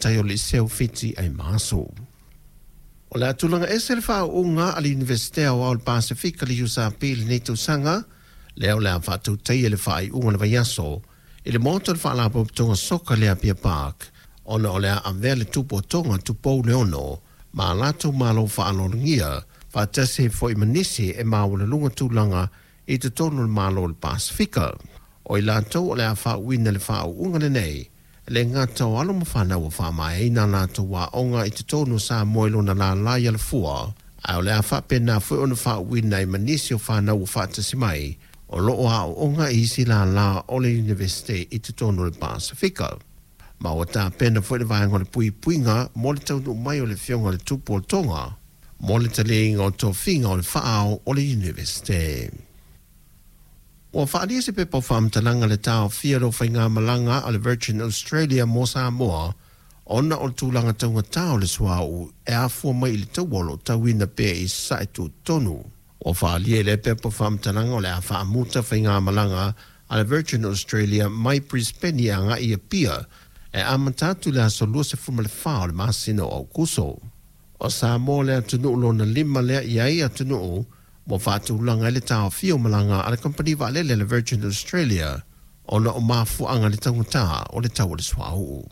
tamaitai o le Iseu Fiti Aimaaso. O le a tulaga ese le faauuga a le Iunivesite Aoao o le Pasefika le USP i lenei tausaga, lea o le a faatautaia le faaiuga o le vaiaso i le maota o le Faalapotopotoga Soka le Apia Park, ona o le a avea le tupu o Toga Tupou Leono ma a latou malo faaaloalogia faatasi ai foi ma nisi e maualuluga tulaga i totonu o le Malo o le Pasefika. O i latou o le a faauuina i le faauuga lenei, e le gata o alo ma fanau ua faamaeaina a latou aoga i totonu o Samoa i lona lala i Alafua, ae o le a faapena foi ona faauuina ai ma nisi o fanau ua faatasi mai o lo o aooga i isi lala o le Iunivesite i totonu o le Pasefika. Ma ua tapena foi le vaega o le puipuiga mo le taunuu mai o le afioga i le Tupu o Toga mo le taliaina o tofiga o le faaao o le Iunivesite. Ua faaalia se pepa o faamatalaga le taofia o le faigamalaga a le Virgin Australia mo Samoa ona o le tulaga taugata o le suauu e afua mai i le taua o lo o tauina pea i sasae tutotonu. Ua faaalia i lea pepa o faamatalaga o le a faamuta faigamalaga a le Virgin Australia mai Brisbane e agai i Apia e amata atu i le aso 24 o le masina o Aokuso. O Samoa le atunuu lona lima lea i ai atunuu ua faatulaga ai le taofia o malaga a le kamupani vaalele a le Virgin Australia ona o mafuaaga le taugata o le tau o le suauu.